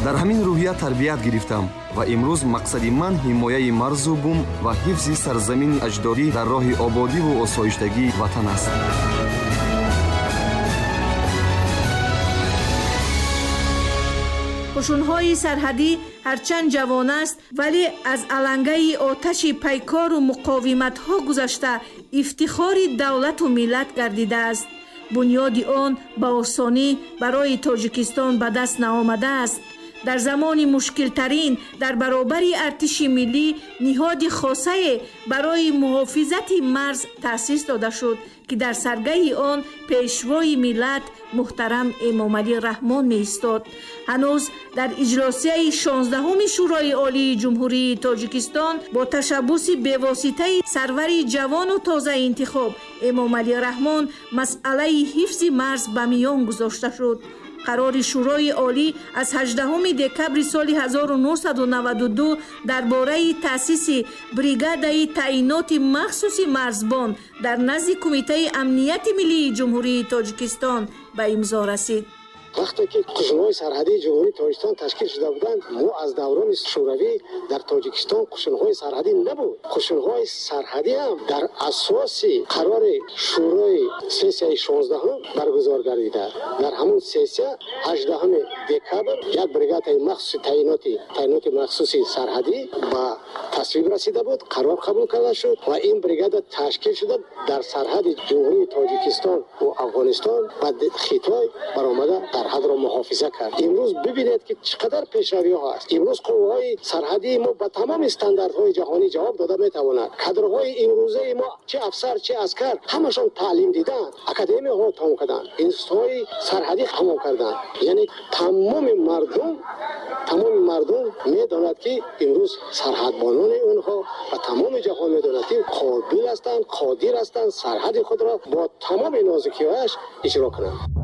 Дар ҳамин рӯҳия тарбият гирифтам ва имрӯз мақсади ман ҳимояи марзу бум ва ҳифзи сарзамини аҷдодӣ дар роҳи ободиву осоиштагии ватан аст. Қушунҳои сарҳадӣ ҳарчанд ҷавон аст, вале аз алангаи оташи пайкору муқовиматҳо гузашта ифтихори давлату миллат гардидааст. Бунёди он ба осонӣ барои Тоҷикистон ба даст наомадааст. Дар замони мушкилтарин дар баробари артиши миллӣ ниҳоди хосае барои муҳофизати марз таъсис дода шуд, ки дар саргаҳи он пешвои миллат муҳтарам Эмомалӣ Раҳмон меистод. Ҳанӯз дар иҷлосияи 16-уми Шӯрои Олии Ҷумҳурии Тоҷикистон бо ташаббуси бевоситаи сарвари ҷавону тозаинтихоб Эмомалӣ Раҳмон масъалаи ҳифзи марз ба миён гузошта шуд. Қарори Шӯрои Олӣ аз 18 декабри соли 1992 дар бораи таъсиси бригадаи таъиноти махсуси марзбон дар назди Кумитаи амнияти миллии Ҷумҳурии Тоҷикистон ба имзо расид. Вақте ки қушунҳои сарҳадии Ҷумҳурии Тоҷикистон ташкил шуда буданд, мо аз даврони Шӯравӣ дар Тоҷикистон қушунҳои сарҳадӣ набуд. Қушунҳои сарҳадӣ ҳам дар асоси қарори Шӯрои сессияи 16-ум баргузор гардида. Дар ҳамун сессия 18 декабр як бригадаи махсуси таъиноти махсуси сарҳадӣ ба тасвиб расида буд, қарор қабул карда шуд ва ин бригада ташкил шуда дар сарҳади Ҷумҳурии Тоҷикистон ва Афғонистон ва Хитой баромада сарҳадро муҳофиза кард. Имрӯз бибинед, ки чӣ қадар пешравиҳо ҳаст. Имрӯз қувваҳои сарҳадии мо ба тамоми стандартҳои ҷаҳонӣ ҷавоб дода метавонад. Кадрҳои имрӯзаи мо, чӣ афсар, чӣ аскар, ҳамашон таълим диданд, академияҳо тамом карданд, институтҳои сарҳадӣ тамом карданд. Яъне тамоми мардум медонад, ки имрӯз сарҳадбонони онҳо ва тамоми ҷаҳон медонад, ки қобил ҳастанд, қодир ҳастанд сарҳади худро бо тамоми нозукиҳояш иҷро кунанд.